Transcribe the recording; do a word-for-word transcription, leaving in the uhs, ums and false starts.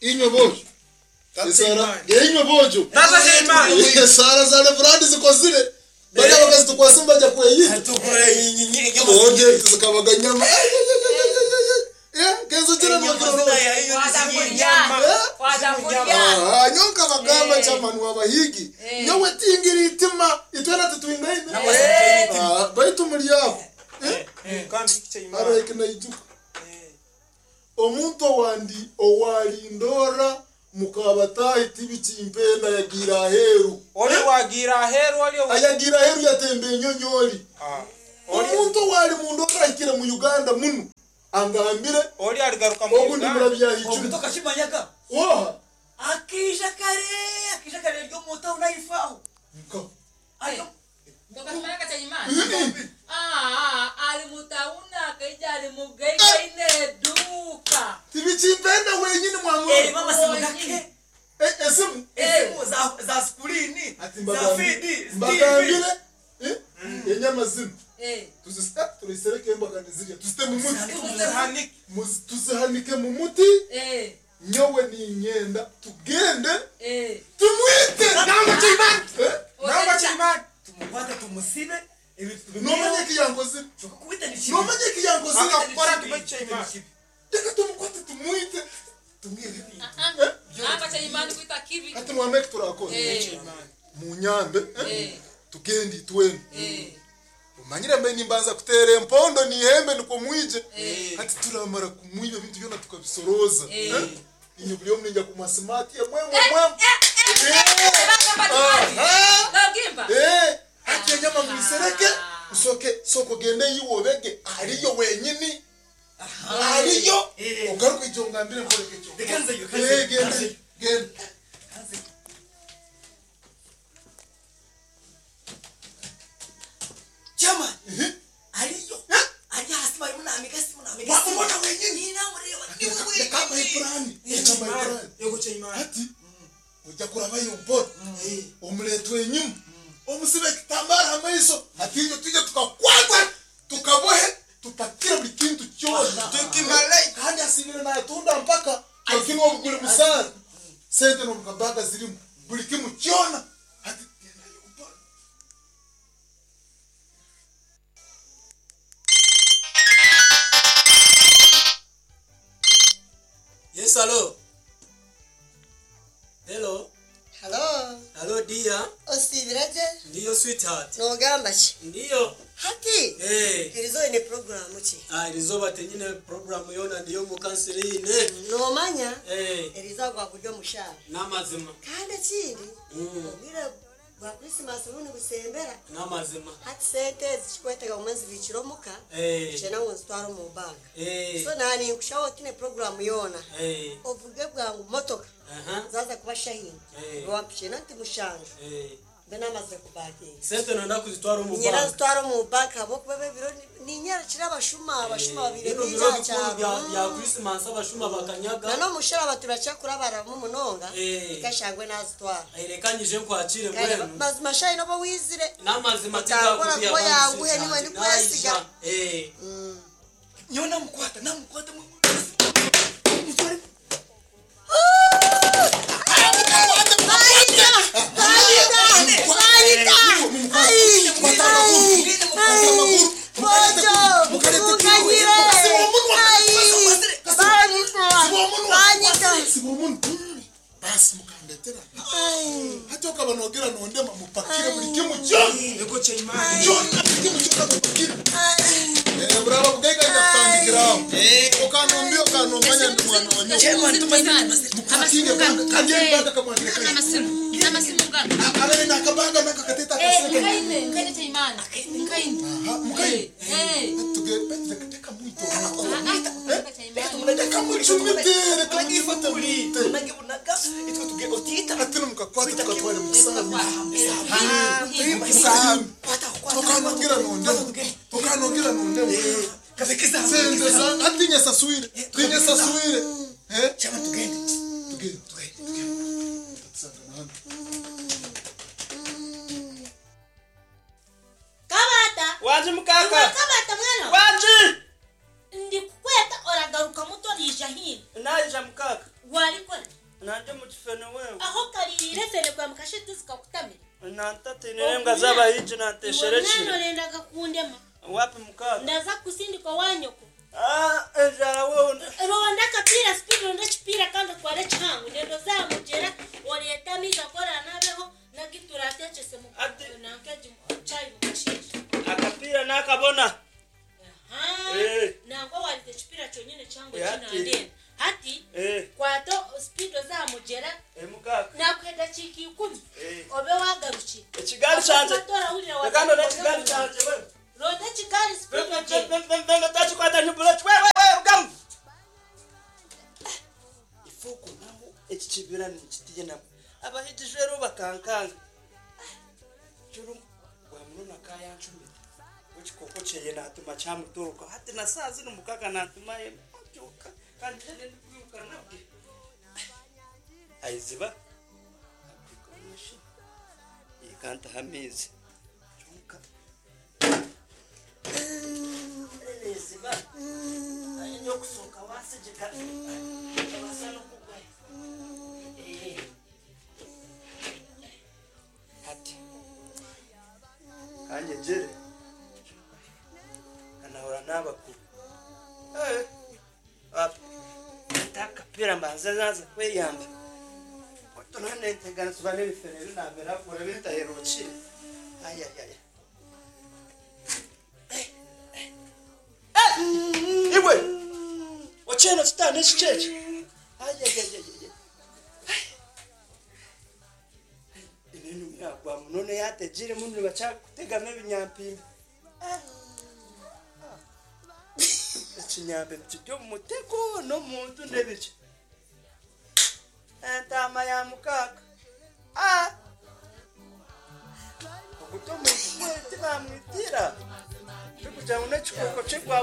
Inywe bojo. Esara inywe bojo. Tata Sheimani. Esara za Reverend zikozire. Bari abakazi tukwasa mbajya kweyita. Tukure nyinyi Oje zikabaga nyama. Eh, kenzo tena Nyama ya hiyo ni nyama. Ah, nyonka bagamba chairman wabahigi. Nyowe tingira itima itwena tutwingaine. Ah, baitu muri yabo. Eh, kandi Sheimani. Araike naijuka. Omuntu wandi owalindora mukabatahi tibichimpenda yagira aheru. Oli wagira aheru oli Ayagira aheru yatembe enyonyoli. Ah. Oli Omuntu wali mundora ahikire mu Uganda muno. Angambire oli aligaruka mu ogundi Uganda. murabya icumi. Obutoka shimanyaga. Oha. Akija kare, akija kare ryo muta unaifaho. Nka. Ayo. Ndokasimanya Chaimani. Ah, ali mutauna akaija ali mugaika ine duka. Tibichimpenda wenyini mwamura. Eh, mama simu gake. Eh, esimu. Esimu za za screen, Ati za mbagambire. feed, Mbagambire. Eh? Enyama zino. Eh. Tuzisita tulisereke embagani zirya. Tuzite mu muti. Tuzihanike. Muzi- Tuzihanike mu muti. Eh. Nyowe ninyenda tugende Eh. tumwite. Nangwa Sheimani. Eh? Nangwa Sheimani. Tumukwata tumusibe ibintu Nomanye kiyankozire. Tukubita ni chibi. Nomanye kiyankozire. Akakora tume Sheimani. Reka tumukwate tumwite. Tumwite. Nangwa Chaimani kuita kibi. Ati mwameke turakora. Eh. Munyambe. Eh? Eh. Tugende itwene. Eh. Umanyire mbe nimbanza kutera empondo nihembe niko mwije. Eh. Ati turamara kumwiba ebintu byona tukabisoroza. Eh. Eh? Inyo buli omu ninja kumasimati emwe mwe mwe. Bagamba Chaimani. Aha. Nagimba. Eh, hati enyama muisereke usoke soko gende yiwobege aliyo wenyini. Aliyo. Eh. Ogaruka ijo ngambire nkoreke cyo. Reka nzeyo, reka nzeyo, Eh, gende gende. Chama. Eh. Aliyo. Ali hasi bari munamiga simu namiga. Wamubona wenyini. Ni namureba. Ni wewe. Reka mayiplani. Reka mayiplani. Yego Sheimani. Ati ojja kurabayo mpora omuletwa enyuma omusibe ekitambara amaiso ati inyo tujye tukakwata tukabohe tupakire buli kintu kyona Tukimale. kandi asibire natunda mpaka lakini obugule musara sente nomukabaga zirimu buli kimu kyona ati gendayo mpora. Yes, hello. Hello. Hello, Hello dear. osibiraje Ndiyo sweetheart. nogamba ki Ndiyo. hati Eh. erizo ine programu ki Ah, irizoba tenyine program yona ndiyo mu kansiline. nomanya Eh. erizo gwa kurya omushara Namazima. kandi ekindi Mm. obwire bwa krisimasi buno busembera Namazima. hati sente ezi kikwetega omwe nzibikire omuka Eh. kyena ngu nzitware omu banka Eh. so nani nkushaho otine programu yoona Eh. ovuge bwangu motoka Aha. zaza kuba shahini Eh. wampikye nti mushanju Eh. mbe namaze kubakinga Sente nonda kuzitwara omu nyina banka. zitwara omu banka habwokuba ebiro ninyara kira abashuma abashuma babire Bino bingi biro aha bikuru bya kyaro bya Christmas abashuma bakanyaga. na n'omushara baturakyakura baramu munonga Eh. ikashangwe nazitwara Eh, Reka nyije nkwakire Kale, mbwenu. mazima shayi noba wizire Namazima Otakora tigakubya kuba abantu, yanguhe sweetheart. niwe ndikwesiga. Naija. Eh. Nyo namukwata, namukwata. Mutware. Siba omuntu. Basi mukandetera. Hati okaba nogera nondema mupakire buli kimu kyona. Yego Sheimani. Kyona buli kimu kyona mupakire. Eh, buraba bugaiga nja kutandikiraho. Okanombia okanomanya ndi mwana wa nyoko. Chairman tumazire. Mupakinge banga kandi embaga kamwandire kayo. Amasimu. Amasimu ngano. Abere nakabaga nakakateta Eh, akasente. nkaine, nkaine Chaimani. Nkaine. Aha, mukaine. Eh. Tuge reka reka mwito. Ah, ah, Chaimani. Reka mucumite, reka mwifate mwite. Unage bunaga itwe tuge otita. Ati nomukakwata tukatware mukisambi. Mukisambi. Kwata kwata. Tukanongera nondemo. Tukanongera nondemo. Kabekiza. Sente za atinya saswire. Tinya saswire. Eh? Chama tugende. Tugende, tugende, tugende. Tusangana hano. Kabata. Waje mukaka. Kabata mwana. Waje. Ndikukweta oragaruka muto rija hino. Naija mukaka. Warikora. Nanje mu kifene wewe. Aho kalirire fene kwa mukashiti zikakutamira. Nantatinire mbwa z'abahigi nantesherekire. Mwana orendaga kundema. Wapi mukaka? Ndaza kusindika wanyoko. Ah, enjara wewe. Ronda kapira speed ronda chipira kandi kware changu ndendo zamugera oreta amiza kora nabeho nagitura atechese mu nankeji chai mukashisha. Akapira nakabona. Aha. Eh. Nangwa walite chipira chonyene changu Eh, china ati. ndenda. Hati Eh. kwato speed zamugera Eh mukaka. nakwenda chiki ikumi. Eh. Obe wagaruki. Ekigali kyanje. Ekando n'ekigali kyanje wewe. Ronda kigali speed ogenda. Takikwata nyubula wewe wewe rugamu. Ifuku naho ekikibira nikitiye nabo. Abahigi rero bakankanga. Juru bwamuruna kayanchumita. Wekikoko kyeye natuma kyamutoroka. Hati na saa zino mukaka natuma ye. Abyuka kandi ndikwiruka nabwe. Aiziba. Akwikomeshi. Ikanta hamizi. Kyonka. Aiziba. Ayo kusoka wasijika. Wasana kugwa. Eh. Hati. Kanje jere. Kanahura n'abakuru. Eh. Wapi? Takapira mbanze naza kweyamba. Oto nane ntegana subane bifere binamera kure bitaherukire. Ay ay ay. Eh! Iwe. Ocheno kitane chicheche. Ay ay ay ay. Ibintu byagwa munone yategire muno bacakutegama ebinyampimbi. Ekinyambe kiryo mu mutego n'omuntu n'ebiki. Entama ya mukaka. Ah! Okuto omuntu gwe tibamwitira. Bikugira ngu n'ekikoko kigwa